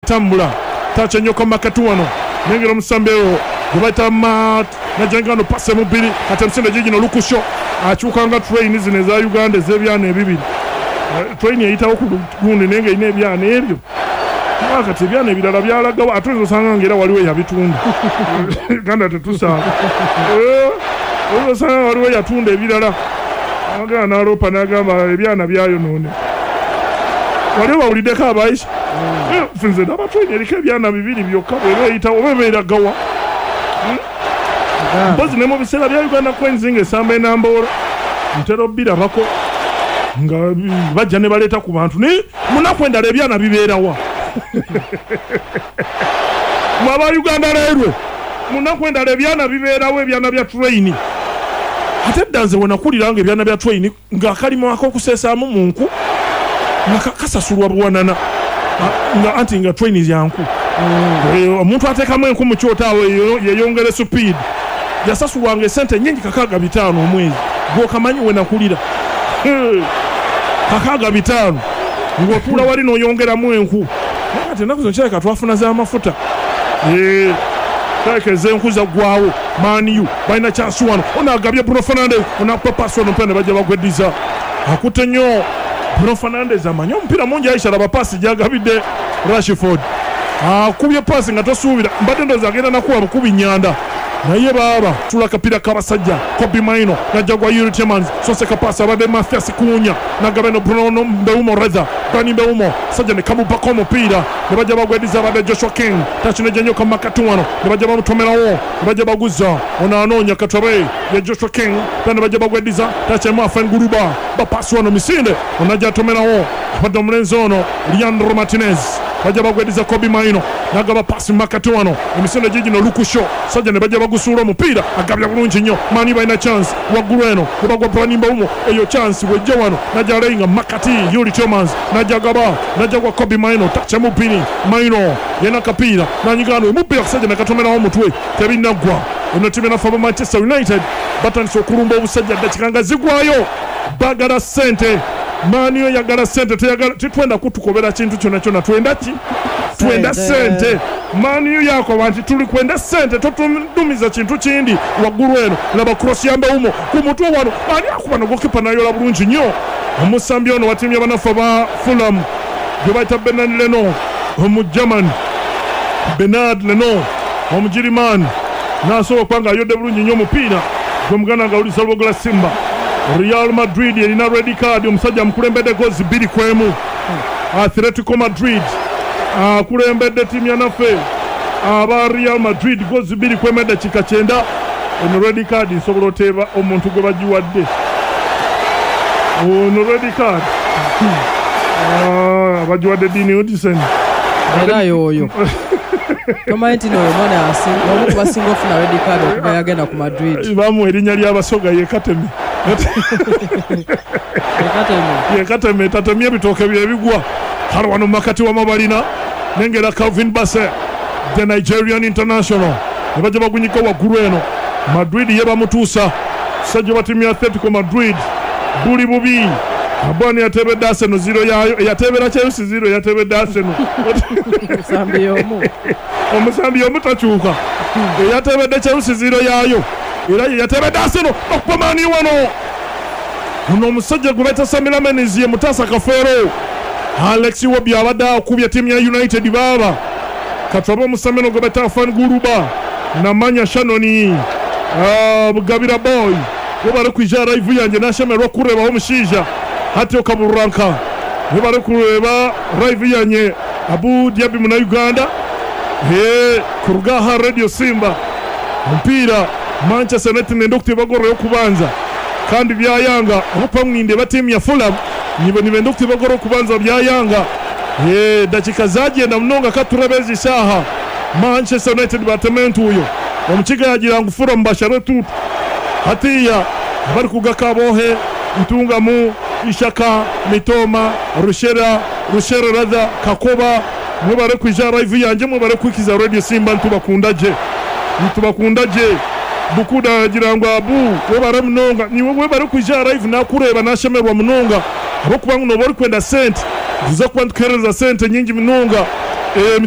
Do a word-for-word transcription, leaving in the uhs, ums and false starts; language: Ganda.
Tambula tacha nnyo makati wano nengera omusambewo gwe bayita Mat najangano pase mubiri kati emisinde gigino Lukusho akyuka nga train zino eza Uganda ez'ebyana ebibiri. Train eyitawo ku gundi naye nga erina ebyana ebyo kati ebyana ebirala byalagawo ate oyinza osanga nga era waliwo eyabitunda. Uganda tetusanga oyinza osanga waliwo eyatunda ebirala agamba n'aloopa n'agamba ebyana byayonoone. Waliwo bawuliddeko abaisha nze ndaba train eriko ebyana bibiri byokka bw'eba eyitawo oba ebeeragawa. Mpozi ne mu biseera bya Uganda Cranes ng'esamba enamboora ntera obbirabako nga bajja ne baleeta ku bantu naye munaku endala ebyana bibeerawa. Mwe aba Uganda Railway munaku endala ebyana bibeerawo ebyana bya train. Ate dda nze we nakulira nga ebyana bya train ng'akalimo ak'okuseesaamu mu nku nga kasasulwa buwanana nga anti nga train ya nku. Omuntu ateekamu enku mu kyoto awo yeeyongere speed yasasulwanga esente nnyingi kakaaga bitaano omwezi gw'okamanyi we nakulira kakaaga bitaano ng'otuula wali n'oyongeramu enku. Naye kati ennaku zino kirabika twafuna z'amafuta kirabika ez'enku zaggwawo. Man U balina chance wano ono agabye Bruno Fernandes onakupa paasi wano omupiira ne bajja bagweddiza akutte nnyo Bruno Fernandes amanyi omupiira mungi Aisha laba paasi gy'agabidde Rashford akubye paasi nga tosuubira mbadde ndowooza agenda nakuba bukubi nnyanda naye baaba tula akapiira k'abasajja Kobbie Mainoo najja gwa Yuri Tielemans soseka paasi abadde Mathias Cunha nagaba eno Bruno Mbeumo rather Brani Mbeumo sajja ne kamubako omupiira ne bajja bagweddiza abadde Joshua King takinejja nnyo kamakati wano ne bajja bamutomerawo ne bajja baguza ono anoonya Katobe ye Joshua King ne bajja bagweddiza takyemu Afen Guruba bapaasi wano misinde onajja atomerawo abadde omulenzi ono Leandro Martinez bajja bagweddiza Kobbie Mainoo nagaba pasi makati wano emisinde gigino Lukusho sajja ne bajja bagusuula omupiira agabya bulungi nnyo. Man U balina chance waggulu eno kubagwa Brani Mbeumo eyo chance wejja wano najja aleyinga makati Yuri Tielemans najja gaba najja gwa Kobbie Mainoo tacha mubiri Mainoo yena kapiira nanyigano omupiira kusajja nakatomerawo omutwe tebinnaggwa. Eno ttiimu enaffe aba Manchester United batandise okulumba obusajja ddakiika nga zigwayo baagala ssente. Man U yagala ssente titwenda kutukobera kintu kyonna kyonna twenda ki twenda ssente. Man U yakoba nti tuli kwenda ssente totudumiza kintu kindi. Waggulu eno laba cross ya Mbeumo ku mutwe wano ani akuba nogokipa nayola bulungi nnyo omusambi ono wa ttiimu y'abanafu aba Fulham gwe bayita Bernard Leno Omugerman Bernard Leno Omugirimani n'asobola okuba nga ayodde bulungi nnyo omupiira gwe muganda nga awulisa Lwogola Simba. Real Madrid erina red card omusajja amukulembedde gozi bbiri ku emu. Atletico Madrid akulembedde ttiimu yanaffe aba Real Madrid gozi bbiri ku emu eddakiika kyenda. Eno red card nsobola oteeba omuntu gwe bagiwadde ono red card bagiwadde Dean Huijsen era yoyo tomanyi nti n'oyo mwana omu ku basinga ofuna red card okuva yagenda ku Madrid bamuwa erinnya ly'abasoga ye Kateme ye Kateme tatemye ebitooke byebigwa. Kale wano makati wamabalina nengera Calvin Bassey the Nigerian international ne bajja bagunyika waggulu eno. Madrid ye bamutuusa sajja wa ttiimu ya Atletico Madrid buli bubi Abani yatebedde Arsenal zero yayo yatebera Chelsea zero yatebedde Arsenal omusambi omu omusambi omu takyuka yatebedde Chelsea zero yayo era ye yatebedde Arsenal okuba Man U wano ono omusajja gwe bayita Sami Lamens ye mutaasa Kafeero. Alex Iwobi abadde akubye ttiimu ya United baaba katwabe omusambi ono gwe bayita Afan Guruba namanya Shannon Bugabira boy webale kwija live yange nashemerwa okurebaho omushaija hati okaburanka webale kureba live yanye Abu Dhabi muna Uganda he kurugaha Radio Simba omupiira Manchester United nenda okuteba goro y'okubanza kandi byayanga obupa mwinde batimu ya Fulham nibo nibenda okuteba goro okubanza byayanga ye dakika zagenda munonga katurabezi isaha Manchester United batementu uyo omukiga yagira ngu Fulham bashare tutu hatiya bari kugakabohe Ntungamu Ishaka Mitoma Rushera Rushera radha Kakoba mwebare kwija live yanje mwebare kwikiza Radio Simba ntubakunda je ntubakunda je bukuda yagira ngo abu webare munonga niwe webare kwija live nakureba nashemerwa munonga abokuba ngo bari kwenda sente tuza kuba tukereza sente nyingi munonga eh